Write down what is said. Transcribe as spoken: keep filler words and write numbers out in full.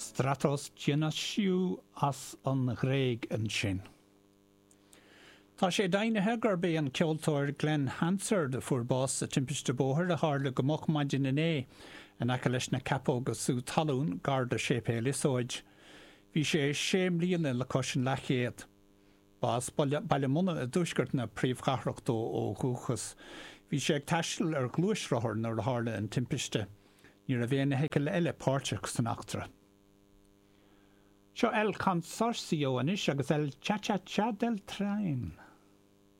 Stratos Dionysiou as an Ghréig ansin. Tá sé deimhnithe gurb é an ceoltóir Glen Hansard a fuair bás sa timpiste bóthair a tharla go moch maidin inné in aice leis na Ceapóga Sú Talún gar do Séipéal Iosóid. Bhí sé sé mbliana le cois an leathchéad. Ba as Baile Munna i dtuaisceart na príomhchathrach dó ó dhúchas. Bhí sé ag taisteal ar ghluaisrothar nuair a tharla an timpiste. Ní raibh aon fheithicil eile páirteach san eachtra. Seo El Consorcio anois agus El Cha Cha Cha del Tren.